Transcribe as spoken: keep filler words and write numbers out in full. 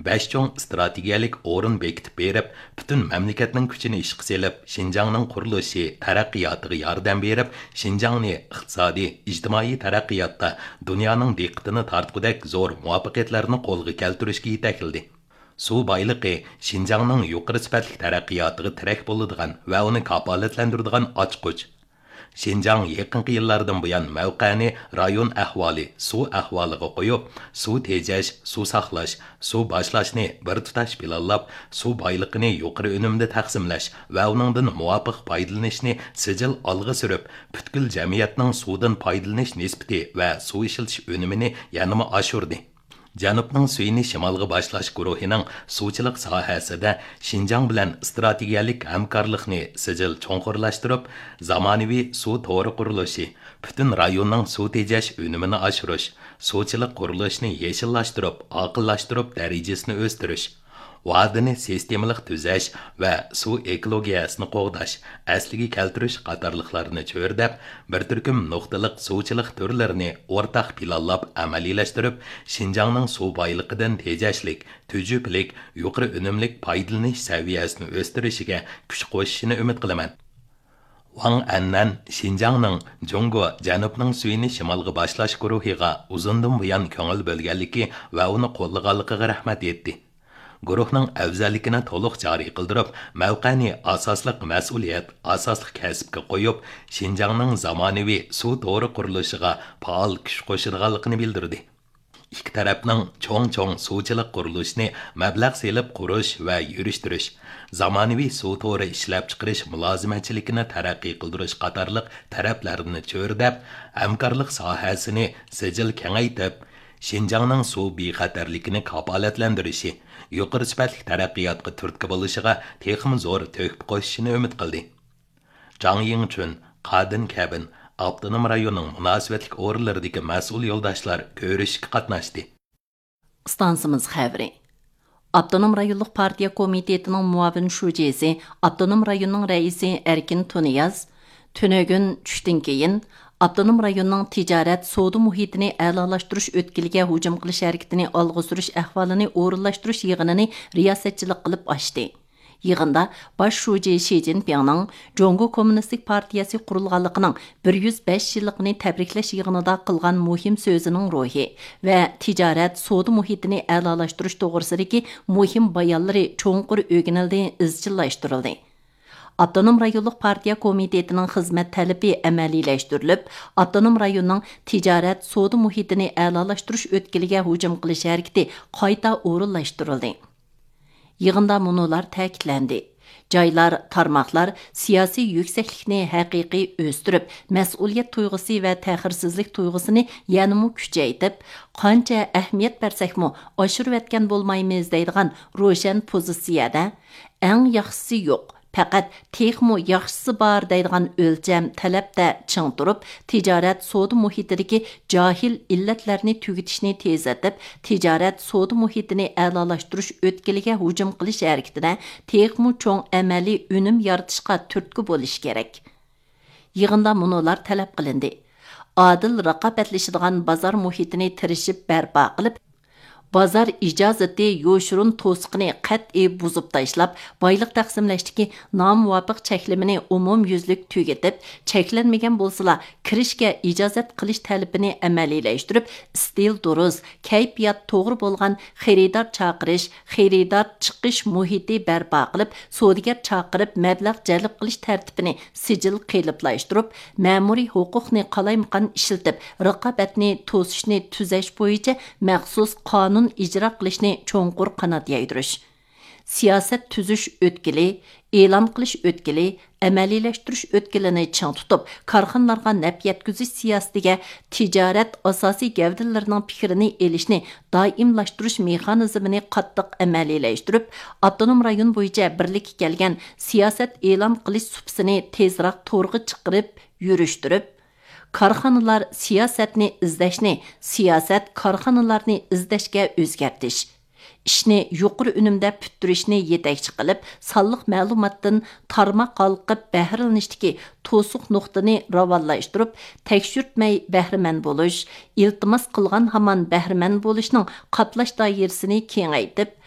بەش چوڭ ئىستراتېگىيەلىك ئورۇن بېكىتىپ بېرىپ، پۈتۈن مەملىكەتنىڭ كۈچىنى ئىشقا سېلىپ، شىنجاڭنىڭ قۇرۇلۇشى، تەرەققىياتىغا ياردەم بېرىپ، شىنجاڭنى ئىقتىسادىي، ئىجتىمائىي تەرەققىياتتا دۇنيانىڭ دىققىتىنى تارتقۇدەك زور مۇۋەپپەقىيەتلەرنى قولغا كەلتۈرۈشكە يېتەكلىدى. سۇ بايلىقى شىنجاڭنىڭ يۇقىرى سۈپەتلىك تەرەققىياتىغا تىرەك بولىدىغان ۋە ئۇنى كاپالەتلەندۈرىدىغان ئاچقۇچ. شىنجاڭ يېقىنقى يىللاردىن بۇيان مەۋقەنى رايون ئەھۋالى، سۇ ئەھۋالىغا قويۇپ، سۇ تېجەش، سۇ ساقلاش، سۇ باشلاشنى بىر تۇتاش پىلانلاپ، سۇ بايلىقىنى يۇقىرى ئۈنۈمدە تەقسىملەش ۋە ئۇنىڭدىن مۇۋاپىق پايدىلىنىشنى سىجىل ئالغا سۈرۈپ، پۈتكۈل جەمئىيەتنىڭ سۇدىن پايدىلىنىش نىسبىتى ۋە سۇ ئىشلىتىش ئۈنۈمىنى يەنىمۇ ئاشۇردى. جەنۇبنىڭ سۈيىنى شىمالغا باشلاش گۇرۇھىنىڭ سۇچىلىق ساھەسىدە شىنجاڭ بىلەن ئىستراتېگىيەلىك ھەمكارلىقنى سىجىل چوڭقۇرلاشتۇرۇپ، زامانىۋى سۇ تورى قۇرۇلۇشى، پۈتۈن رايوننىڭ سۇ تېجەش ئۈنۈمىنى ئاشۇرۇش، سۇچىلىق قۇرۇلۇشىنى يېشىللاشتۇرۇپ، ئاقىللاشتۇرۇپ، دەرىجىسىنى ئۆستۈرۈش، ۋادىنى سىستېمىلىق تۈزەش ۋە سۇ ئېكولوگىيەسىنى قوغداش، ئەسلىگە كەلتۈرۈش قاتارلىقلارنى چۆرىدەپ، بىر تۈركۈم نۇقتىلىق سۇچىلىق تۈرلىرىنى ئورتاق پىلانلاپ ئەمەلىيلەشتۈرۈپ، شىنجاڭنىڭ سۇ بايلىقىدىن تېجەشلىك، تۈجۈپىلىك، يۇقىرى ئۈنۈملۈك پايدىلىنىش سەۋىيەسىنى ئۆستۈرۈشىگە كۈچ قوشۇشىنى ئۈمىد قىلىمەن. ۋاڭ ئەننەن شىنجاڭنىڭ جۇڭگو جەنۇبنىڭ سۈيىنى شىمالغا باشلاش گۇرۇھىغا ئۇزۇندىن بۇيان كۆڭۈل بۆلگەنلىكى ۋە ئۇنى قوللىغانلىقىغا رەھمەت ئېيتتى. گۇرۇھنىڭ ئەۋزەللىكىنى تولۇق جارى قىلدۇرۇپ، مەۋقەنى ئاساسلىق مەسئۇلىيەت، ئاساسلىق كەسىپكە قويۇپ، شىنجاڭنىڭ زامانىۋى سۇ تورى قۇرۇلۇشىغا پائال كۈچ قوشىدىغانلىقىنى بىلدۈردى. ئىككى تەرەپنىڭ چوڭ-چوڭ سۇچىلىق قۇرۇلۇشىنى مەبلەغ سېلىپ قۇرۇش ۋە يۈرۈشتۈرۈش، زامانىۋى سۇ تورى ئىشلەپچىقىرىش مۇلازىمەتچىلىكىنى تەرەققىي قىلدۇرۇش قاتارلىق تەرەپلەرنى چۆرىدەپ، ھەمكارلىق ساھەسىنى سىجىل كېڭەيتىپ، شىنجاڭنىڭ سۇ بىخەتەرلىكىنى كاپالەتلەندۈرۈشى، يۇقىرى سۈپەتلىك تەرەققىياتقا تۈرتكە بولۇشىغا تېخىمۇ زور تۆھپە قوشۇشىنى ئۈمىد قىلدى. جاڭ يىڭچۈن، قادىن كەبىن ئاپتونوم رايوننىڭ مۇناسىۋەتلىك ئورۇنلىرىدىكى مەسئۇل يولداشلار كۆرۈشۈشكە قاتناشتى. ئىستانسىمىز خەۋىرى. ئاپتونوم رايونلۇق پارتىيە كومىتېتىنىڭ مۇئاۋىن شۇجىسى، ئاپتونوم رايوننىڭ رەئىسى ئەركىن تۇنىياز تۈنۈگۈن چۈشتىن كېيىن ئاپتونوم رايوننىڭ تىجارەت، سودا مۇھىتىنى ئەلالاشتۇرۇش ئۆتكىلىگە ھۇجۇم قىلىش ھەرىكىتىنى ئالغا سۈرۈش ئەھۋالىنى ئورۇنلاشتۇرۇش يىغىنىنى رىياسەتچىلىك قىلىپ ئاچتى. يىغىندا باش شۇجى شى جىنپىڭنىڭ جۇڭگو كوممۇنىستىك پارتىيەسى قۇرۇلغانلىقىنىڭ بىر يۈز بەش يىللىقىنى تەبرىكلەش يىغىنىدا قىلغان مۇھىم سۆزىنىڭ روھى ۋە تىجارەت، سودا مۇھىتىنى ئەلالاشتۇرۇش توغرىسىدىكى مۇھىم بايانلىرى چوڭقۇر ئۆگىنىلدى، ئىزچىللاشتۇرۇلدى. ئاپتونوم رايونلۇق پارتىيە كومىتېتىنىڭ خىزمەت تەلىپى ئەمەلىيلەشتۈرۈلۈپ، ئاپتونوم رايوننىڭ تىجارەت، سودا مۇھىتىنى ئەلالاشتۇرۇش ئۆتكىلىگە ھۇجۇم قىلىش ھەرىكىتى قايتا ئورۇنلاشتۇرۇلدى. يىغىندا مۇنۇلار تەكىتلەندى: جايلار، تارماقلار سىياسىي يۈكسەكلىكنى ھەقىقىي ئۆستۈرۈپ، مەسئۇلىيەت تۇيغۇسى ۋە تەخىرسىزلىك تۇيغۇسىنى يەنىمۇ كۈچەيتىپ، قانچە ئەھمىيەت بەرسەكمۇ ئاشۇرۇۋەتكەن بولمايمىز دەيدىغان روشەن پوزىتسىيەدە، ئەڭ ياخشىسى يوق، پەقەت تېخىمۇ ياخشىسى بار دەيدىغان ئۆلچەم، تەلەپتە چىڭ تۇرۇپ، تىجارەت، سودا مۇھىتىدىكى جاھىل ئىللەتلەرنى تۈگىتىشنى تېزلىتىپ، تىجارەت، سودا مۇھىتىنى ئەلالاشتۇرۇش ئۆتكىلىگە ھۇجۇم قىلىش ھەرىكىتىدە تېخىمۇ چوڭ ئەمەلىي ئۈنۈم يارىتىشقا تۈرتكە بولۇش كېرەك. يىغىندا مۇنۇلار تەلەپ قىلىندى: ئادىل رىقابەتلىشىدىغان بازار مۇھىتىنى تىرىشىپ بەرپا قىلىپ، بازار ئىجازىتى يوشۇرۇن توسۇقىنى قەتئىي بۇزۇپ تاشلاپ، بايلىق تەقسىملەشتىكى نامۇۋاپىق چەكلىمىنى ئومۇميۈزلۈك تۈگىتىپ، چەكلەنمىگەن بولسىلا كىرىشكە ئىجازەت قىلىش تەلىپىنى ئەمەلىيلەشتۈرۈپ، ئىستىل دۇرۇس، كەيپىيات توغرا بولغان خېرىدار چاقىرىش، خېرىدار چىقىش مۇھىتى بەرپا قىلىپ، سودىگەر چاقىرىپ مەبلەغ جەلپ قىلىش تەرتىپىنى سىجىل قېلىپلاشتۇرۇپ، مەمۇرىي ھوقۇقنى قالايمىقان ئىشلىتىپ، رىقابەتنى توسۇشنى تۈزەش بويىچە مەخسۇس قانۇن ئىجرا قىلىشنى چوڭقۇر قانات يايدۇرۇش. سىياسەت تۈزۈش ئۆتكىلى، ئېلان قىلىش ئۆتكىلى، ئەمەلىيلەشتۈرۈش ئۆتكىلىنى چىڭ تۇتۇپ، كارخانىلارغا نەپ يەتكۈزۈش سىياسىتىگە تىجارەت ئاساسىي گەۋدىلىرىنىڭ پىكرىنى ئېلىشنى دائىملاشتۇرۇش مېخانىزمىنى قاتتىق ئەمەلىيلەشتۈرۈپ، ئاپتونوم رايون بويىچە بىرلىككە كەلگەن سىياسەت ئېلان قىلىش سۇپىسىنى تېزراق تورغا چىقىرىپ يۈرۈشتۈرۈپ، كارخانىلار سىياسەتنى ئىزدەشنى سىياسەت كارخانىلارنى ئىزدەشكە ئۆزگەرتىش، ئىشنى يۇقىرى ئۈنۈمدە پۈتتۈرۈشنى يېتەكچى قىلىپ، سانلىق مەلۇماتتىن تارماق ھالقىپ بەھرىلىنىشتىكى توسۇق نۇقتىنى راۋانلاشتۇرۇپ، تەكشۈرتمەي بەھرىمەن بولۇش، ئىلتىماس قىلغان ھامان بەھرىمەن بولۇشنىڭ قاپلاش دائىرىسىنى كېڭەيتىپ،